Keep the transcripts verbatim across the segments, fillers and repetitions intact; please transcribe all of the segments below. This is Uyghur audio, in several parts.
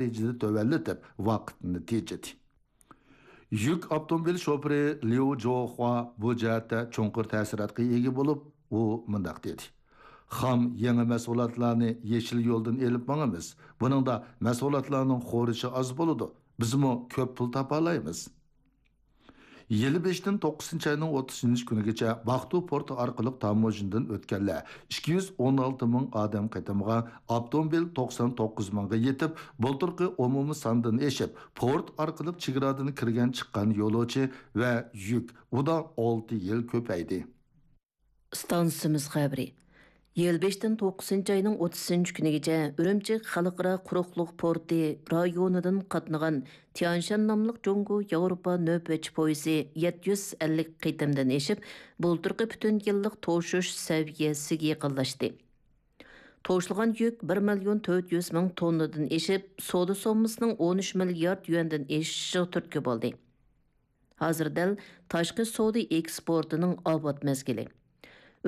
دەرىجىدە تۆۋەنلىتىپ، ۋاقىتنى تېجىدى. يۈك ئاپتوموبىل شوپۇرى ليۇ جوخۇا بۇ جەھەتتە چوڭقۇر تەسىراتقا ئىگە بولۇپ، ئۇ مۇنداق دېدى: خام يېڭى مەھسۇلاتلارنى يېشىل يولدىن ئېلىپ ماڭىمىز. بۇنىڭدا مەھسۇلاتلارنىڭ خورىشى ئاز بولىدۇ. بىزمۇ كۆپ پۇل تاپالايمىز. يىل بېشىدىن توققۇزىنچى ئاينىڭ ئوتتۇزىنچى كۈنىگىچە باقتۇ پورتى ئارقىلىق تاموژنىدىن ئۆتكەنلەر ئىككى يۈز ئون ئالتە مىڭ ئادەم قېتىمغا، ئاپتوموبىل توقسان توققۇز مىڭغا يېتىپ، بۇلتۇرقى ئومۇمىي ساندىن ئېشىپ، پورت ئارقىلىق چېگرادىن كىرگەن چىققان يولۇچى ۋە يۈك ئۇدا ئالتە يىل كۆپەيدى. ئىستانسىمىز خەۋىرى. يىل بېشىدىن توققۇزىنچى ئاينىڭ ئوتتۇزىنچى كۈنىگىچە ئۈرۈمچى خەلقئارا قۇرۇقلۇق پورتى رايونىدىن قاتنىغان تيانشان ناملىق جۇڭگو ياۋروپا نۆۋەتچى پويىزى يەتتە يۈز ئەللىك قېتىمدىن ئېشىپ، بۇلتۇرقى پۈتۈن يىللىق توشۇش سەۋىيەسىگە يېقىنلاشتى. توشۇلغان يۈك بىر مىليون تۆت يۈز مىڭ توننىدىن ئېشىپ، سودا سوممىسىنىڭ ئون ئۈچ مىليارد يۈەندىن ئېشىشىغا تۈرتكە بولدى. ھازىر دەل تاشقى سودا ئېكسپورتىنىڭ ئاۋات مەزگىلى.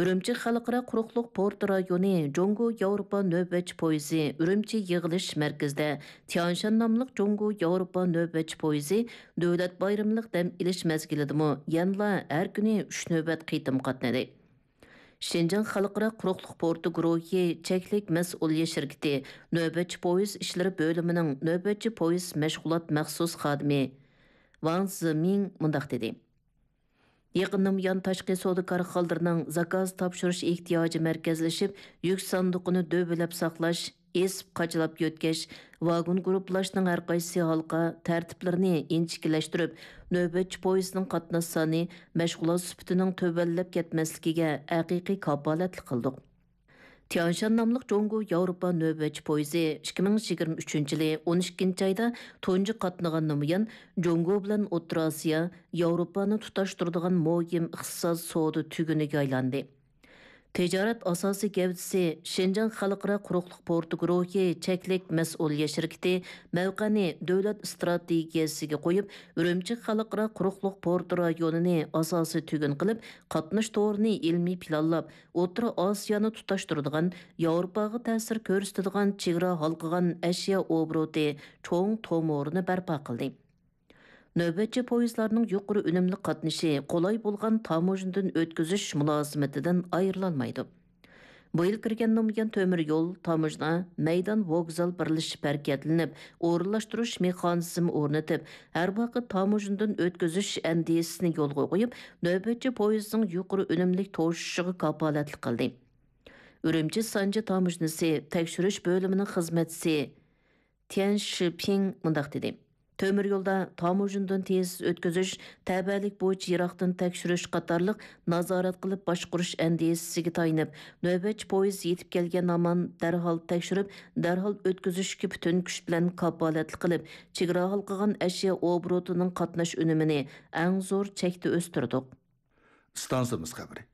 ئۈرۈمچى خەلقئارا قۇرۇقلۇق پورت رايونى جۇڭگو ياۋروپا نۆۋەتچى پويىزى ئۈرۈمچى يىغىلىش مەركىزىدە تيانشان ناملىق جۇڭگو ياۋروپا نۆۋەتچى پويىزى دۆلەت بايرىملىق دەم ئېلىش مەزگىلىدىمۇ يەنىلا ھەر كۈنى ئۈچ نۆۋەت قېتىم قاتنىدى. شىنجاڭ خەلقئارا قۇرۇقلۇق پورتى گۇرۇھى چەكلىك مەسئۇلىيەت شىركىتى نۆۋەتچى پويىز ئىشلىرى بۆلۈمىنىڭ نۆۋەتچى پويىز مەشغۇلات مەخسۇس خادىمى ۋاڭ زىمىڭ مۇنداق دېدى: يېقىندىن بۇيان، تاشقى سودا كارخانىلىرىنىڭ زاكاز تاپشۇرۇش ئېھتىياجى مەركەزلىشىپ، يۈك ساندۇقىنى دۆۋىلەپ ساقلاش، ئېسىپ قاچىلاپ يۆتكەش، ۋاگون گۇرۇپپىلاشنىڭ ھەرقايسى ھالقا تەرتىپلىرىنى ئىنچىكىلەشتۈرۈپ، نۆۋەتچى پويىزنىڭ قاتناش سانى، مەشغۇلات سۈپىتىنىڭ تۆۋەنلەپ كەتمەسلىكىگە ھەقىقىي كاپالەتلىك قىلدۇق. تيانشان ناملىق جۇڭگو ياۋروپا نۆۋەتچى پويىزى ئىككى مىڭ يىگىرمە ئۈچىنچى يىلى ئون ئىككىنچى ئايدا تۇنجى قاتنىغاندىن بۇيان، جۇڭگو بىلەن ئوتتۇرا ئاسىيا، ياۋروپانى تۇتاشتۇرىدىغان مۇھىم ئىقتىساد سودا تۈگۈنىگە ئايلاندى. تىجارەت ئاساسىي گەۋدىسى شىنجاڭ خەلقئارا قۇرۇقلۇق پورتى گۇرۇھى چەكلىك مەسئۇلىيەت شىركىتى مەۋقەنى دۆلەت ئىستراتېگىيەسىگە قويۇپ، ئۈرۈمچى خەلقئارا قۇرۇقلۇق پورتى رايونىنى ئاساسىي تۈگۈن قىلىپ، قاتناش تورىنى ئىلمىي پىلانلاپ، ئوتتۇرا ئاسىيانى تۇتاشتۇرىدىغان، ياۋروپاغا تەسىر كۆرسىتىدىغان چېگرا ھالقىغان ئەشيا ئوبوروتى چوڭ تومۇرىنى بەرپا قىلدى. نۆۋەتچى پويىزلارنىڭ يۇقىرى ئۈنۈملۈك قاتنىشى قولاي بولغان تاموژنىدىن ئۆتكۈزۈش مۇلازىمىتىدىن ئايرىلالمايدۇ. بۇ يىل كىرگەندىن بۇيان، تۆمۈر يول، تاموژنا، مەيدان، ۋوگزال بىرلىشىپ ھەرىكەتلىنىپ، ئورۇنلاشتۇرۇش مېخانىزمى ئورنىتىپ، ھەر ۋاقىت تاموژنىدىن ئۆتكۈزۈش ئەندىزىسىنى يولغا قويۇپ، نۆۋەتچى پويىزنىڭ يۇقىرى ئۈنۈملۈك توشۇشىغا كاپالەتلىك قىلدى. ئۈرۈمچى سانجى تاموژنىسى تەكشۈرۈش بۆلۈمىنىڭ خىزمەتچىسى تيەن شىپىڭ مۇنداق دېدى: تۆمۈر يولدا تاموژنىدىن تېز ئۆتكۈزۈش، تەۋەلىك بويىچە يىراقتىن تەكشۈرۈش قاتارلىق نازارەت قىلىپ باشقۇرۇش ئەندىزىسىگە تايىنىپ، نۆۋەتچى پويىز يېتىپ كەلگەن ھامان دەرھال تەكشۈرۈپ، دەرھال ئۆتكۈزۈشكە پۈتۈن كۈچ بىلەن كاپالەتلىك قىلىپ، چېگرا ھالقىغان ئەشيا ئوبوروتىنىڭ قاتناش ئۈنۈمىنى ئەڭ زور چەكتە ئۆستۈردۇق. ئىستانسىمىز خەۋىرى.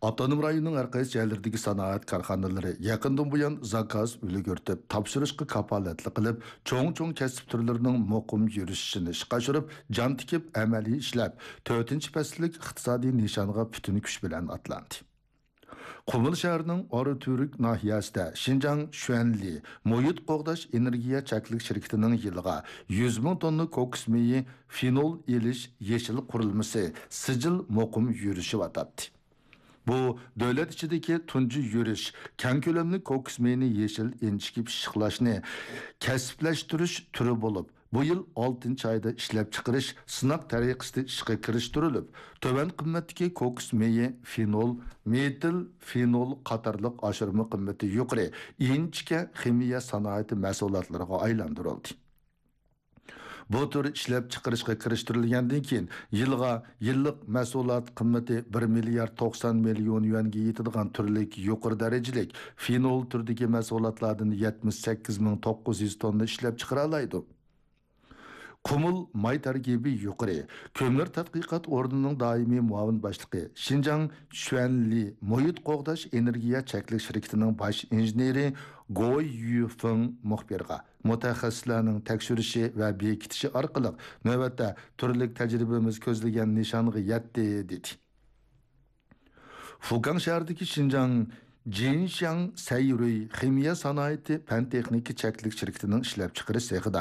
ئاپتونوم رايوننىڭ ھەر قايسى جايلىرىدىكى سانائەت كارخانىلىرى يېقىندىن بۇيان زاكاز ئۈلگۈرتۈپ، تاپشۇرۇشقا كاپالەتلىك قىلىپ، چوڭ-چوڭ كەسىپ تۈرلىرىنىڭ مۇقىم يۈرۈشۈشىنى ئىشقا ئاشۇرۇپ، جان تىكىپ، ئەمەلىي ئىشلەپ، تۆتىنچى پەسىللىك ئىقتىسادىي نىشانغا پۈتۈن كۈچ بىلەن ئاتلاندى. قۇمۇل شەھىرىنىڭ ئاراتۈرك ناھىيەسىدە شىنجاڭ شۈەنلى مۇھىت قوغداش ئېنېرگىيە چەكلىك شىركىتىنىڭ يىلىغا يۈز مىڭ توننا كوكۇس مېيى فېنول ئېلىش يېشىل قۇرۇلمىسى سىجىل مۇقىم يۈرۈشۈۋاتاتتى. بۇ دۆلەت ئىچىدىكى تۇنجى يۈرۈش، كەڭ كۆلەملىك كوكۇس مېيىنى يېشىل ئىنچىكە پىششىقلاشنى كەسىپلەشتۈرۈش تۈرى بولۇپ، بۇ يىل ئالتىنچى ئايدا ئىشلەپچىقىرىش سىناق تەرىقىسىدە ئىشقا كىرىشتۈرۈلۈپ، تۆۋەن قىممەتتىكى كوكۇس مېيى، فېنول، مېتىل فېنول قاتارلىق ئاشۇرما قىممىتى يۇقىرى ئىنچىكە خىمىيە سانائىتى مەھسۇلاتلىرىغا ئايلاندۇرۇلدى. بۇ تۈر ئىشلەپچىقىرىشقا كىرىشتۈرۈلگەندىن كېيىن، يىلغا يىللىق مەھسۇلات قىممىتى بىر مىليارد توقسان مىليون يۈەنگە يېتىدىغان تۈرلۈك يۇقىرى دەرىجىلىك فېنول تۈرىدىكى مەھسۇلاتلاردىن يەتمىش سەككىز مىڭ توققۇز يۈز توننا ئىشلەپچىقىرالايدۇ. قۇمۇل ماي تەركىبى يۇقىرى كۆمۈر تەتقىقات ئورنىنىڭ دائىمىي مۇئاۋىن باشلىقى، شىنجاڭ شۈەنلى مۇھىت قوغداش ئېنېرگىيە چەكلىك شىركىتىنىڭ باش ئىنژېنېرى گوي يۈفېڭ مۇخبىرغا، مۇتەخەسسىسلەرنىڭ تەكشۈرۈشى ۋە بېكىتىشى ئارقىلىق نۆۋەتتە تۈرلۈك تەجرىبىمىز كۆزلىگەن نىشانغا يەتتى، دېدى. فۇكاڭ شەھىرىدىكى شىنجاڭ جىنشياڭ سەيرۇي خىمىيە سانائىتى پەن تېخنىكا چەكلىك شىركىتىنىڭ ئىشلەپچىقىرىش سېخىدا